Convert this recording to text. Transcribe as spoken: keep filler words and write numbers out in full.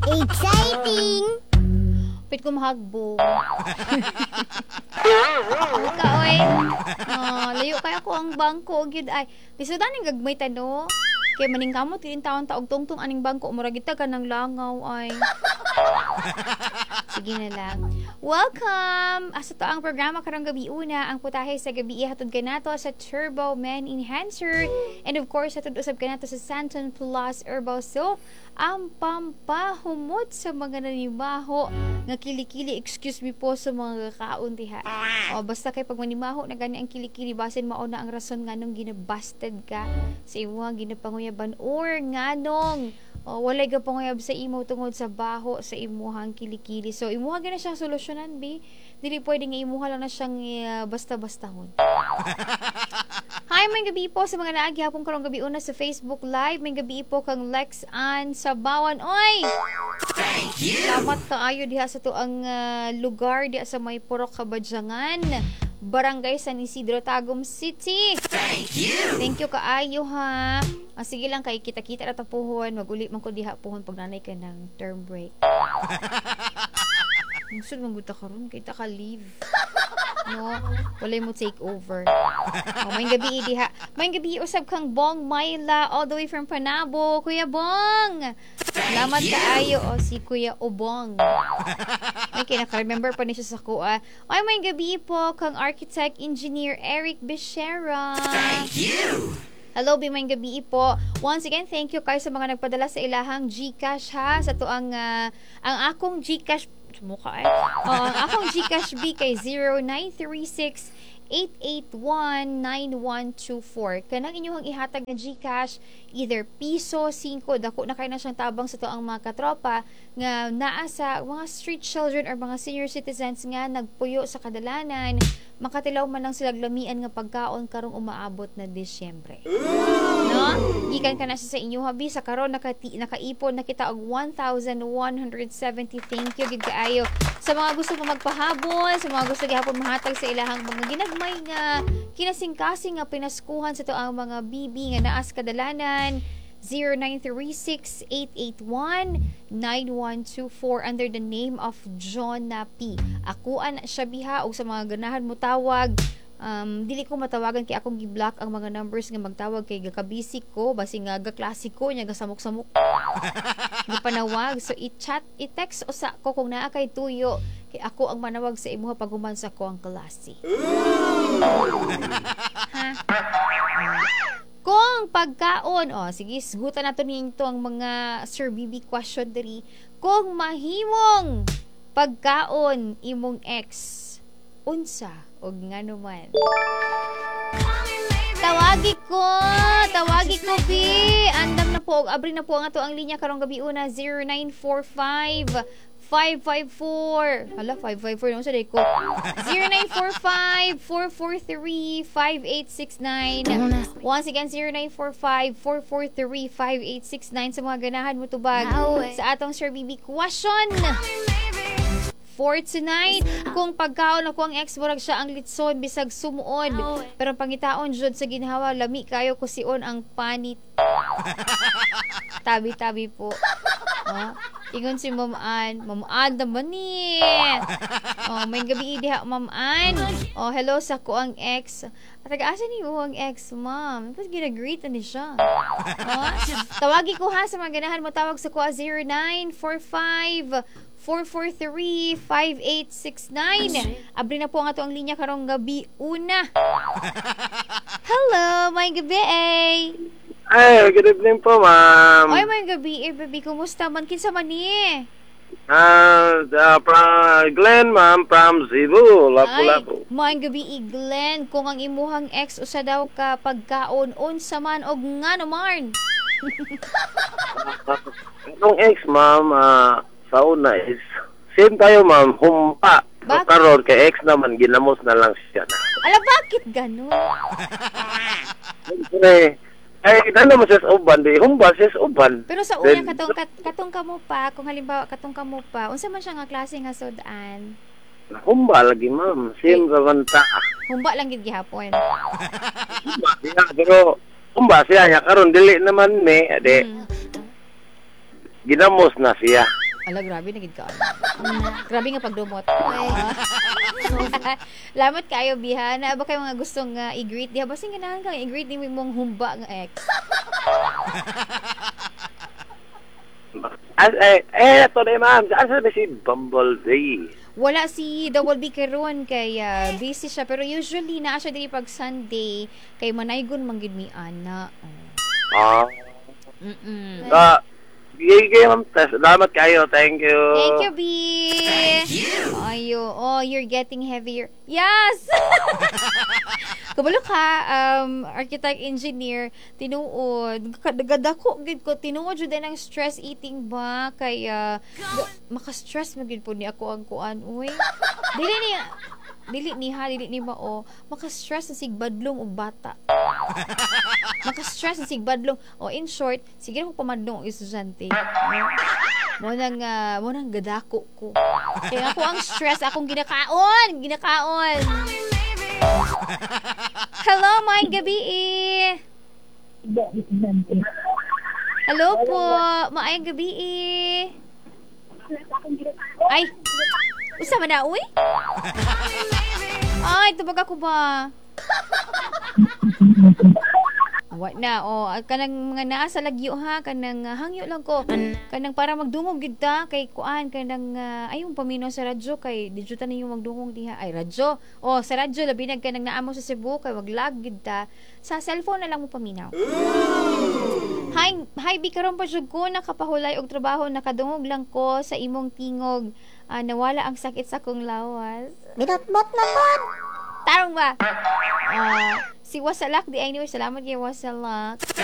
Exciting! Pit ko mahagbong. Ka oy. Oh, layo kay ako ang bangko gyud ay. Bisan ning gagmay ta, no. Kay maningkamot gyud taon ta og tungtong aning bangko, murag kita ka ng langaw ay. Sige na lang. Welcome! Asa to ang programa karong gabi una, ang putahe sa gabi hatod kanato sa Turbo Man Enhancer. And of course, hatod usab kanato sa Santon Plus Herbal Soap, ang pampahumot sa mga nanimaho nga kilikili. Excuse me po sa mga kaon diha. O, basta kay pag manimaho na gani ang kilikili, basin mao na ang rason nganong ginabasted ka sa imuhang ginapanguyaban or nganong o, walay gapanguyab sa imo tungod sa baho sa imuhang kilikili. So, imuha gyud na siyang solusyonan, bi. Dili pwede nga imuha lang na siyang uh, basta-bastahon. Hi, may gabi po sa mga naagi hapon karong gabi una sa Facebook Live. May gabi po kang Lex Ann Sabawan. Oy! Thank you. Salamat kaayo diha sa tuang uh, lugar diha sa may Purok Kabadyangan, Barangay San Isidro, Tagum City. Thank you. Thank you kaayo ha. Ah, sige lang kay kita-kita ra ta puhon, maguli man ko diha puhon pag nanay ka ng term break. Musod man gud ta karon kay ta ka leave. No, walay mo take over. Oh, may gabi diha. May gabi usab kang Bong Myla all the way from Panabo. Kuya Bong. Salamat kaayo, o si Kuya Obong. May kinaka-remember pa ni siya sa kuha. Ay, may gabi po kang Architect Engineer Eric Becerra. Thank you. Hello, bi may gabi po. Once again, thank you kayo sa mga nagpadala sa ilahang GCash ha. Sa to ang ah, ang akong GCash mukha eh. Oh, ang akong GCash B kay zero nine three six eight eight one, nine one two four. Kanang inyong ihatag na GCash, either piso, singko, dako na kayo na siyang tabang sa to ang mga katropa nga naa sa mga street children or mga senior citizens nga nagpuyo sa kadalanan, makatilaw man lang sila lamian nga pagkaon karong umaabot na Disyembre. No? Gikan ka na siya sa inyong habi sa karon nakati, nakaipon na kita og one thousand one hundred seventy. Thank you gid kaayo. Sa mga gusto pa magpahabol, sa mga gusto gihapon mahatag sa ilahang mga ginagmay nga kinasingkasing nga pinaskuhan sa to ang mga bibi nga naa sa kadalanan, zero nine three six, eight eight one, nine one two four under the name of Jonah P. Akuan siya biha og sa mga ganahan mo tawag, um, dili ko matawagan kay akong gi-block ang mga numbers nga magtawag kay gakabisik ko, basi nga gaklase ko nya gasamok-samok gipanawag. So i-chat, i-text usa ko kung naa kay tuyo kay ako ang manawag sa imuha pag human sa ko ang klase ha. Kung pagkaon, oh, sige, sgutan nato ninyo ang mga Sir B B question diri. Kung mahimong pagkaon imong ex, unsa og ngano man? Tawagi ko, tawagi ko bi. Andam na po, og abri na po ang ato ang linya karong gabi una, zero nine four five, five five four. Hala, five five four no sa ko. zero nine four five, four four three, five eight six nine. Once again, zero nine four five, four four three, five eight six nine sa mga ganahan mo tubag sa atong Sir B B question for tonight. Kung pagkaon ako ang ex, murag siya ang litson bisag sumuod. Pero pangitaon jud sa ginhawa, lami kayo kusion ang panit. Tabi-tabi po. Oh, ingon si Ma'am Ann. Ma'am Ann naman ni. Oh, may gabi diha, Ma'am Ann. Oh, hello sa ko ang ex. At taga-asa ni mo ang ex, ma'am? Tapos gina-greet na ni siya. Oh, tawagi ko ha sa mga ganahan mo tawag sa ko zero nine four five four four three, five eight six nine. Abri na po ang ato ang linya karong gabi una. Hello, may gabi eh. Ay, good evening po, ma'am. Oy, may gabi eh, baby. Kumusta man? Kinsa man ni? Ah, uh, from Glenn, ma'am, from Cebu, Lapu-Lapu. Ay, may gabi eh, Glenn. Kung ang imuhang ex usa daw ka pagkaon, unsa man og ngano man? Itong ex, ma'am, ah, sa una is, same tayo, ma'am, humpa. So, Bakit? karon kay ex naman, ginamos na lang siya na. Ala, bakit ganon? Siyempre, ay, ano mo siya sa uban, di, humba siya sa uban. Pero sa una, Then, katong, kat, katong kamo pa, kung halimbawa, katong kamo pa, unsa man siya nga klase nga sudan? Humba lagi, ma'am. Same raman ta. Humba lang gid gihapon. Humba siya, pero, humba siya, niya karon dili naman me, di, Mm. ginamos na siya. Ala, grabe na gid ka. Grabe nga pagdumot. Salamat kayo, Biha. Naa ba kayo mga gustong uh, i-greet? Diha, basin ganahan kang i-greet ni mong humba nga ex. As, eh, eh, ito na ma'am. Asa ba si Bumblebee? Wala si Double B karon kay ah, busy siya pero usually naa siya diri pag Sunday kay manaygon man gid mi ana. Oh. Ah. Mm-mm. Ah, sige, ma'am. Salamat kayo. Thank you. Thank you, B. Thank you. Ayo, oh, you're getting heavier. Yes! Kabalo ka, um, architect engineer, tinuod, kadako gid ko, tinuod jud ang stress eating ba kay uh, maka-stress man gid po ni ako ang kuan, uy. Dili ni dili ni ha, dili ni mao, maka-stress na sig badlong og bata. Maka-stress na sig badlong. O in short, sige ko pamadlong og estudyante. Mo nang uh, mo nang gadako ko. Kaya ako ang stress akong ginakaon, ginakaon. Hello, maayong gabi. Hello po, maayong gabi. Ay, usa man na, uy? Ay, tubag ako ba? Wa na, oh, kanang mga naa sa lagyo ha, kanang uh, hangyo lang ko. Kanang para magdungog gid ta kay kuan kanang uh, ayong paminaw sa radyo kay di jud ta ninyo magdungog diha. Ay radyo. Oh, sa radyo labi na kanang naa mo sa Cebu kay maglag gid ta. Sa cellphone na lang mo paminaw. Hi, hi bi karon pa jud ko nakapahulay og trabaho nakadungog lang ko sa imong tingog. Ah, nawala ang sakit sa akong lawas. Binatbat na pod. Tarong ba? Ah, si Wasalak di anyway, salamat kay Wasalak.